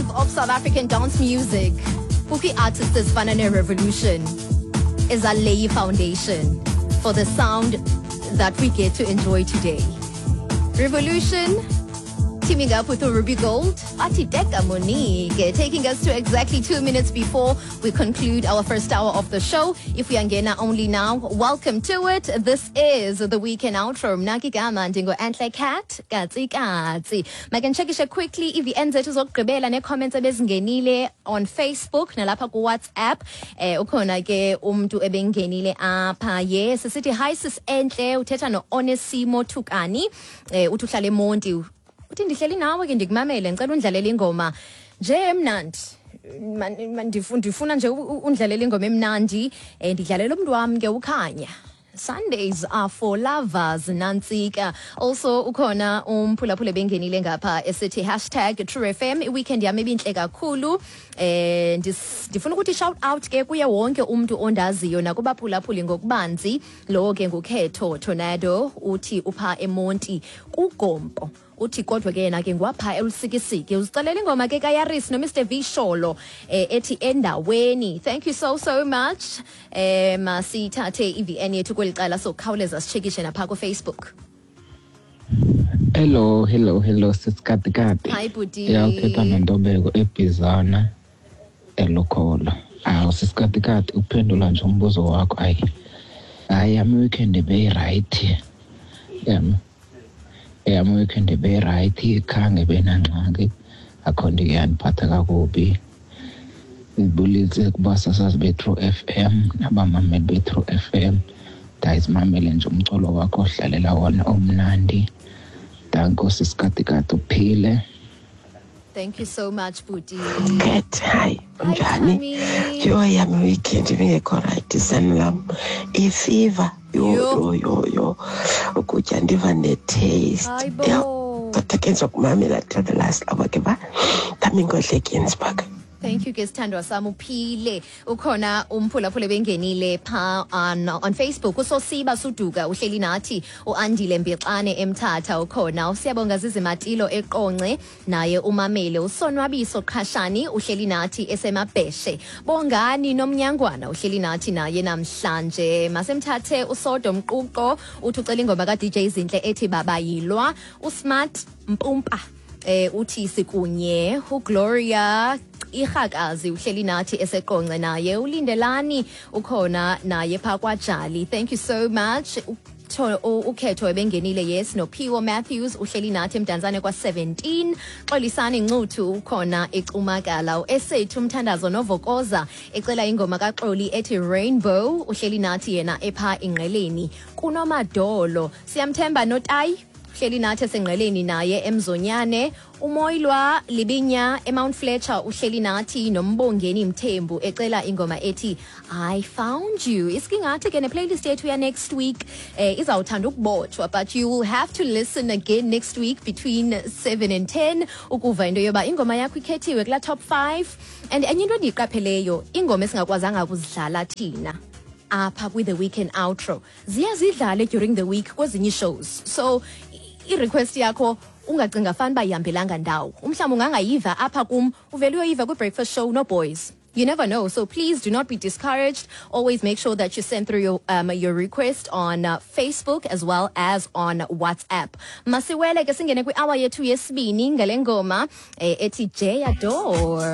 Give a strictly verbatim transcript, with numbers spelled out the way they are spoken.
wave of South African dance music, kukho ii-artists ezifana ne-Revolution ezalay foundation for the sound that we get to enjoy today. Revolution teaming up with Ruby Gold, Ati Deka Monique, taking us to exactly two minutes before we conclude our first hour of the show. If we are only now, welcome to it. This is the weekend outro. Mna ke igama ndingu Entle Cat, Katsi Katsi. Make ndichekishe quickly i-V N zethu zokugqibela nee-comments ebezingenile on Facebook nalapha ku-WhatsApp. Eh ukhona ke umntu ebengenile apha. Yes, sithi hi sis Entle, uthetha no-Onesimo Thukani. Eh uthi uhlala eMonti. Uthi ndihleli nawe ke, ndikumamele, ngicela undlalele ingoma nje emnandi. Man- man- ndifu- ndifuna nje u- u- undlalele ingoma emnandi, um ndidlalela umntu wam ke ukhanya. Sundays are for lovers, nantsika. Also ukhona umphulaphula bengenile ngapha esithi hashtag True F M, i-weekend yami ibintle kakhulu. eh ndis- ndifuna ukuthi shout out ke kuye wonke umuntu ondaziyo nakubaphulaphuli ngokubanzi. Lowo ke ngukhetho Tornado, uthi upha eMonti kuGompo, uthi kodwa ke yena ke ngwapha eLusikisiki. Uzicelela ingoma ke kaYaris no Mister V Sholo eh, ethi Endaweni. Thank you so so much. eh masithathe i-V N yethu kweli cala, sokhawuleza sichekishe napha ku-Facebook. Hello, hello, hello, sisikatikati. Hi bhuti. Ya, uthetha noNtobeko eBhizana eLukholo. Awu sisikatikati, uphendula nje umbuzo wakho, ayi. Hayi, yami weekend beyi-right. Yami. Yami weekend beyi-right, khange benangxaki. Akho nto iyandiphatha kakubi. Ndibulise kubasasazi be-True F M nabamameli be-True F M. Ndayizimamele nje umculo wakho ohlalela wona omnandi. Danko sisikatikati, uphile. Thank you so much, bhuti. Cat, hi, Hi, unjani? Thami. Yho, yami weekend ibingekho right, sani lam. I-fever, yho. Yho. Yho yho yho. Ukutya ndiva ne-taste. Hayi Yho, bo. kodwa ke ndizokumamela till the last hour ke ba. Thami Nkohle, Ginsburg. Thank you ke sithandwa sami, uphile. Ukhona umphulaphula bengenile pha on on Facebook, uSosiba Suduka uhleli nathi, uAndile Mbixane eMthatha ukhona, uSiyabonga Zizimatilo eQonce naye umamele, uSonwabiso Qhashani uhleli nathi eseMabheshe, Bongani Nomnyangwana uhleli nathi naye namhlanje. Masemthathe uSodo Mquqo, uthi ucela ingoma ka D J Zinhle ethi Babayilwa. uSmart Mpumpa eh uthi sikunye. uGloria Irhakazi uhleli nathi eseQonce naye, uLindelani ukhona naye pha kwaJali. Thank you so much. Utho- u- ukhetho ebengenile, yes, noPhiwo Matthews uhleli nathi eMdantsane kwa seventeen. Xolisani Ncuthu ukhona eCumakala. Esethu Umthandazo Novokoza ecela ingoma kaXoli ethi Rainbow, uhleli nathi yena epha Ingqeleni kunomadolo. Siyamthemba Notayi uhleli nathi eseNgqeleni naye eMzonyane. Umoyilwa Libinya eMount Fletcher uhleli nathi, noMbongeni Mthembu ecela ingoma ethi I Found You. Isikingathi ke ne-playlist yethu ya next week eh izawuthanda ukubotshwa, but you will have to listen again next week between seven and ten ukuva into yoba ingoma yakho ikhethiwe kula top five. And enye into endiyiqapheleyo, ingoma esingakwazanga ukuzidlala thina apha kwi-the weekend outro ziya zidlale during the week kwezinye shows, so i-request yakho ungacinga fani uba ihambelanga ndawo. Umhlawumbi ungangayiva apha kum, uvele uyoyiva kwi-breakfast show no-boys. You never know. So please do not be discouraged. Always make sure that you send through your, um, your request on uh, Facebook as well as on WhatsApp. Masiwele ke singene kwi-hour yethu yesibini ngale ngoma eh, ethi Jay Adore.